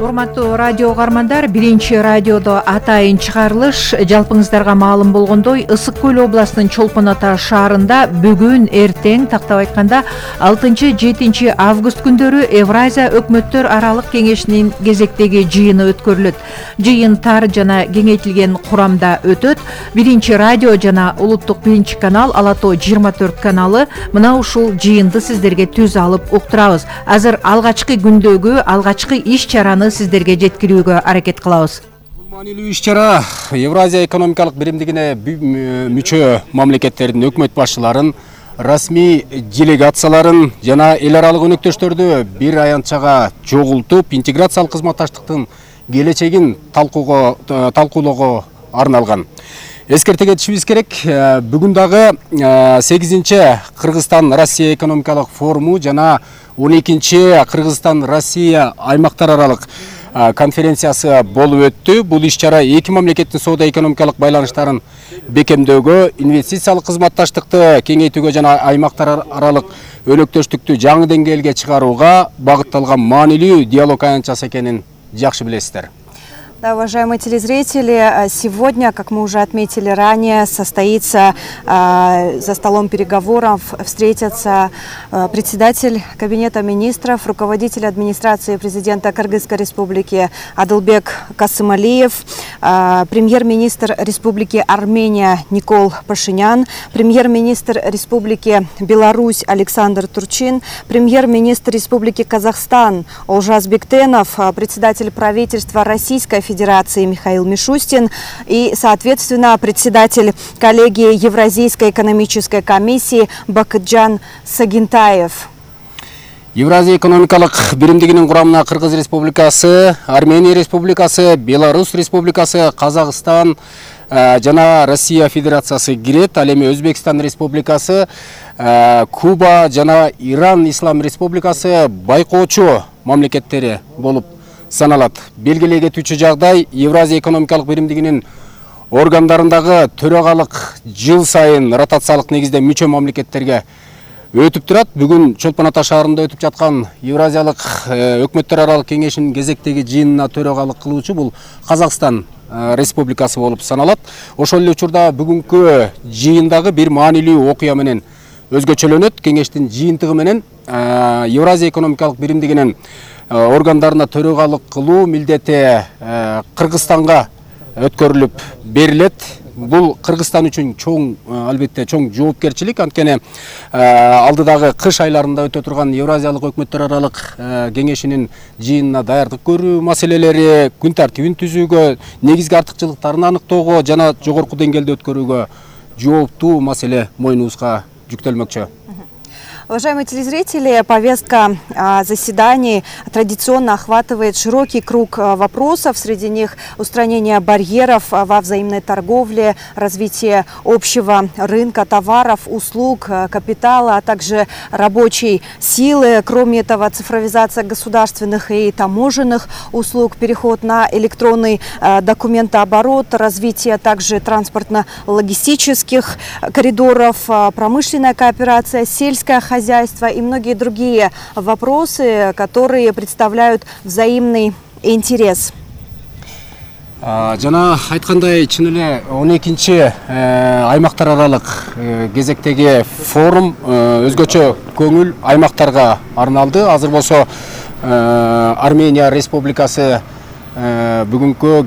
Урматтуу радио угармандар, биринчи радиодо атайын чыгарылыш. Жалпыңыздарга маалым болгондой, Ысык Көл областынын Чолпон Ата шаарында бүгүн эртең, тактап айтканда 6-7 август күндөрү Евразия өкмөттөр аралык кеңешинин кезектеги жыйыны өткөрүлөт. Жыйын тар жана кеңейтилген курамда өтөт. Биринчи радио жана улуттук биринчи канал Ала Тоо 24 каналы мына ушул жыйынды сиздерге түз алып уктурабыз. Азыр алгачкы күндөгү алгачкы иш-чараны сиздерге жеткирүүгө аракет кылабыз. Бул маанилүү иш-чара Евразия экономикалык биримдигине мүчө мамлекеттердин өкмөт башчыларын, расмий делегацияларын жана эл аралык өнөктөштөрдү бир аянтчага чогултуп, интеграциялык кызматташтыктын келечегин талкуулоого арналган. Эскерте кетишибиз керек, бүгүн дагы 8-чи Кыргызстан-Россия экономикалык форуму жана 12-чи Кыргызстан-Россия аймактар аралык конференциясы болуп өттү. Бул иш-чара эки мамлекеттин соода-экономикалык байланыштарын бекемдөөгө, инвестициялык кызматташтыкты кеңейтүүгө жана аймактар аралык өнөктөштүктү жаңы деңгээлге чыгарууга багытталган маанилүү диалог аянтчасы экенин жакшы билесиздер. Да, уважаемые телезрители, сегодня, как мы уже отметили ранее, состоится за столом переговоров, встретятся председатель Кабинета министров, руководитель администрации президента Кыргызской республики Адылбек Касымалиев, премьер-министр Республики Армения Никол Пашинян, премьер-министр Республики Беларусь Александр Турчин, премьер-министр Республики Казахстан Олжас Бектенов, председатель правительства Российской Федерации Михаил Мишустин и, соответственно, председатель коллегии Евразийской экономической комиссии Бакытжан Сагинтаев. Евразия экономикалык биримдигинин курамына Кыргыз Республикасы, Армения Республикасы, Беларусь Республикасы, Казакстан жана Россия Федерациясы кирет. Ал эми Өзбекстан Республикасы, Куба жана Иран Ислам Республикасы байкоочу мамлекеттери болуп саналат. Белгилей кетүүчү жагдай, Евразия экономикалык биримдигинин органдарындагы төрагалык жыл сайын ротациялык негизде мүчө мамлекеттерге өтүп турат. Бүгүн Чолпон Ата шаарында өтүп жаткан Евразиялык өкмөттөр аралык кеңешинин кезектеги жыйынына төрагалык кылуучу бул Казакстан Республикасы болуп саналат. Ошол эле учурда бүгүнкү жыйындагы бир маанилүү окуя менен өзгөчөлөнөт. Кеңештин жыйынтыгы менен Евразия экономикалык биримдигинин органдарына төрагалык кылуу милдети Кыргызстанга өткөрүлүп берилет. Бул Кыргызстан үчүн чоң, албетте чоң жоопкерчилик. Анткени алдыдагы кыш айларында өтө турган Евразиялык өкмөттөр аралык кеңешинин жыйынына даярдык көрүү маселелери, күн тартибин түзүүгө, негизги артыкчылыктарын аныктоого жана жогорку деңгээлде өткөрүүгө жооптуу маселе мойнубузга жүктөлмөкчү. Уважаемые телезрители, повестка заседаний традиционно охватывает широкий круг вопросов. Среди них устранение барьеров во взаимной торговле, развитие общего рынка товаров, услуг, капитала, а также рабочей силы. Кроме этого, цифровизация государственных и таможенных услуг, переход на электронный документооборот, развитие также транспортно-логистических коридоров, промышленная кооперация, сельское хозяйство и многие другие вопросы, которые представляют взаимный интерес. Жана айткандай, чын эле 12-чи аймактар аралык кезектеги форум өзгөчө көңүл аймактарга арналды. Азыр болсо Армения Республикасы бүгүнкү